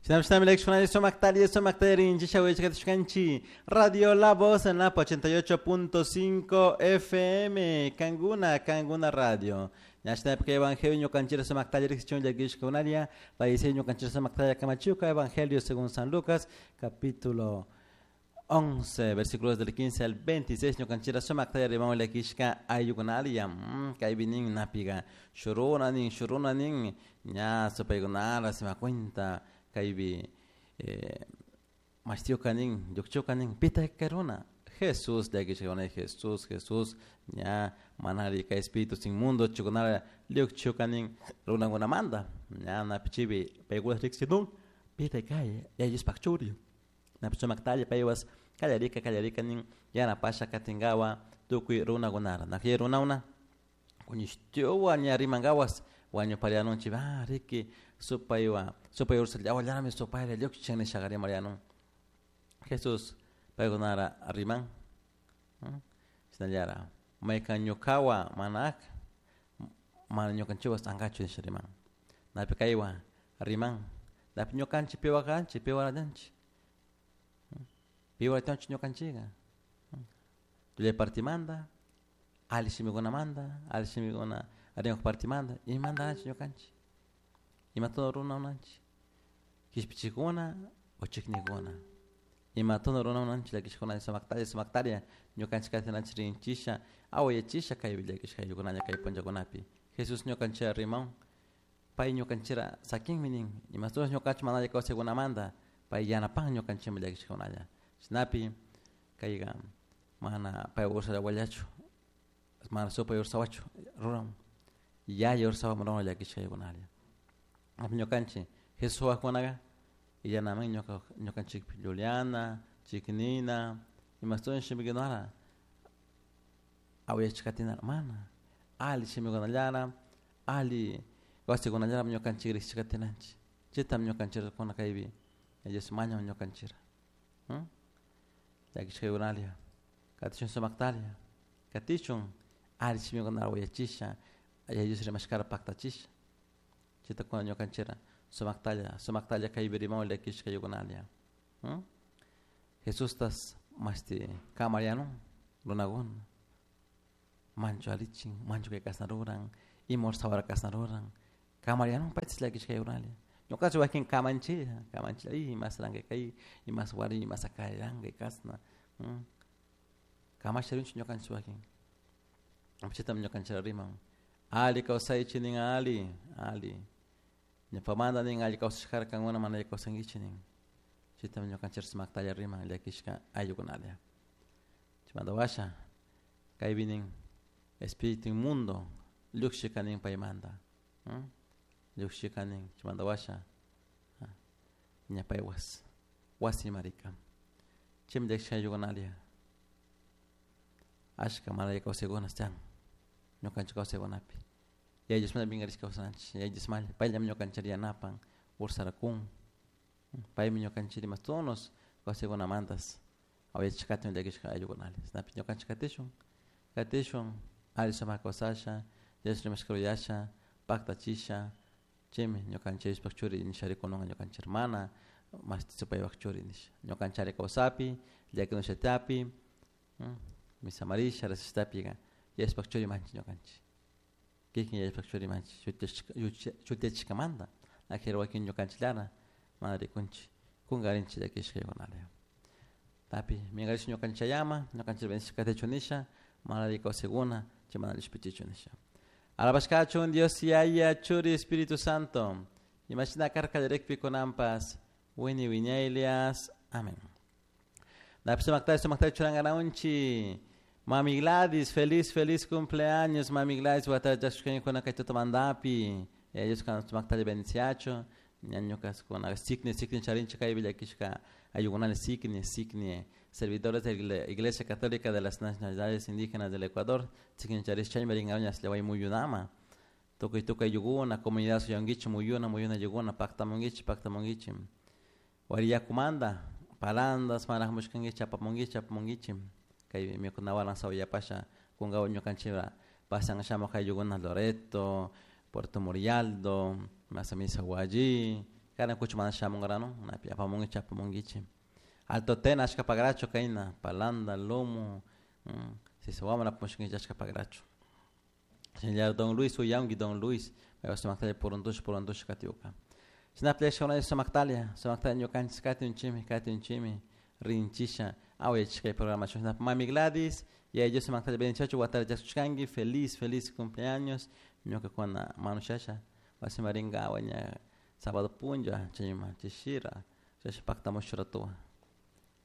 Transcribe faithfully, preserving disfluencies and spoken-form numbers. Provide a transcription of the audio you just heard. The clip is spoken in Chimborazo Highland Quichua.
Radio La Voz en la ochenta y ocho punto cinco F M, Canguna, Canguna Radio. Evangelio Evangelio según San Lucas, capítulo once, versículos del quince al veintiséis. Ñukanchira sumaktaya rimam llakishka ayukunalia, kaypi nin napiga shuruna nin shuruna nin ña supaykunara sima cuenta kaypi eh, mashtiuka nin llukchuka nin pita karuna Jesús llakishka Jesús Jesús ña manari kay espíritus inmundo chukunara llukchuka nin runakunamanta ña napichipi paykuna riqsinun pita kay yallispaq churi napi sumaktalla paywas kallarika kallarika nin yanapasha katinkawa tukuy runakunara nakiy runakuna kuñishtiwa ña rimankawas wañuparianunchik ah riki supaywa supay ursallawa supayra lluqchin nishaqa rimarianun Jesús paykunara riman shinallara maykan ñukawa mana mana ñukanchikwas ankachu nisha riman napi kaywa riman napi ñukanchik piwa kanchik piwarallanchik piwaratanchik ñukanchikqa tullay partimanta alli shimikunamanta alli shimikuna rimaq partimanta imantanachik ñukanchik imatuna runakunanchik kishpichikuna o chiknikuna imatuna runakunanchik llakishkuna sumaktalla sumaktalla ñukanchik katinanchik rinchisha awayachisha kaypi llakishka ayllukuna kay punllakunapi Jesús ñukanchik riman pay ñukanchira sakinmi nin imatunas ñukanchik mana alli kawsaykunamanta pay yanapan ñukanchikmi llakishkakunalla chaynapi kayqa mana pay ursallawallachu mana supay ursawachu ruran yaya ursawa ruran llakishkaykunalla ñukanchik Jesús wajkunaqa illanaman ñuka ñukanchikpi llullana chiknina imastuna shimikunara awayachikatinara mana alli shimikunallara alli kawsaykunallara ñukanchik riqsichikatinanchik chaytam ñukanchikuna kaypi Dios mañan ñukanchira llakishkaykunalia katishun sumaktalla katishun alli shimikunara wayachisha Yaya Dios rimashkara paktachisha chaytakuna ñukanchira sumaktalla sumaktalla kaypi rimawan llakishkaykunalia Jesustas mashti kamarianun runakuna manchu allichin manchu kay kasna ruran ima sawara kasna ruran kamarianun paytas llakishkaykunalia ñukanchik wakin kamanchilla kamanchilla imas ranka kay imas wari imas akaranka kasna kamasha rinchik ñukanchik wakin chaytam ñukanchik riman alli kawsaychik nin alli alli ñawpamanta nin alli kawsashkara kankuna mana alli kawsankichik nin chaytam ñukanchik sumaktalla riman llakishka ayllukunalia chaymanta washa kaypi nin espíritu inmundo llukshika nin paymanta llukshika nin chaymanta washa ña paywas wasima rika chaymi llakishka ayllukunalia ashka mana alli kawsaykuna chan ñukanchik kawsaykunapi Yaya Diosmanta pinkarishka kawsananchik Yaya Diosmalla payllami ñukanchik yanapan ursarakun paymi ñukanchik imashtunos kawsaykunamantas awayachishkatun llakishka ayllukunalla chaynapi ñukanchik katishun katishun alli sumak kawsasha Dios rimashka rurasha paktachisha chaymi ñukanchik Diospaq churi nisha rikununqa ñukanchik hermana mashti supaypaq churi nisha ñukanchik ari kawsapi llakinushatapi misamarisha rasishtapiqa Diospaq churi manchik ñukanchik kikin Diospaq churi manchik shutiyachishkamanta ajera wakin ñukanchikllara mana rikunchik kunkarinchik llakishkaykunalla tapi minkarish ñukanchayama ñukanchik bendecishka katichu nisha mana alli kawsaykuna chay mana allishpichichu nisha alabashkachun Dios Yaya Churi Espíritu Santo imashina karka qallarikpi kunanpas wini wiñaylias amén. Napi sumaktalla sumaktalla churankanawunchik Mami Gladys, feliz, feliz cumpleaños, Mami Gladys, watachashkañikuna kay tutamantapi, Dios sumaktalla bendiciachu, ñañukas kuna sikni sikni charinchik kaypi llakishka ayllukunalla sikni sikni servidores de la Iglesia Católica de las Nacionalidades Indígenas del Ecuador, sikni charish chaymi rinkañas llaway muyunama, tukuy tukuy ayllukuna, comunidad suyunkichik muyuna muyuna ayllukuna paktamunkichik paktamunkichik wari yakumanta palandas manajmushkankichik apamunkichik apamunkichik kay mikunawaran sawayapasha kunkawa ñukanchikra pasan shamuq ayllukuna Loreto, Puerto Murialdo, Misahuallí, Karan kuchu mana shamunkarano napi apamunkichik apamunkichik Alto Tena ashka pagracho kayna Palanda, Lumo, Sisahuama apamushkankichik ashka pagracho. Shinallar Don Luis uyanki Don Luis paypak sumaktalla puruntush puruntush katiuka. Shinapis sumaktalia sumaktalia ñukanchik katunchikmi katunchikmi rinchisha awayachishka programación. Mami Gladys Yaya Dios sumaktalla bendiciachu watata chaskushkanki feliz feliz cumpleaños ñukakuna manushasha wasiman rinkawa ña sábado punlla chayman chishira chashna paktamush ratuwan.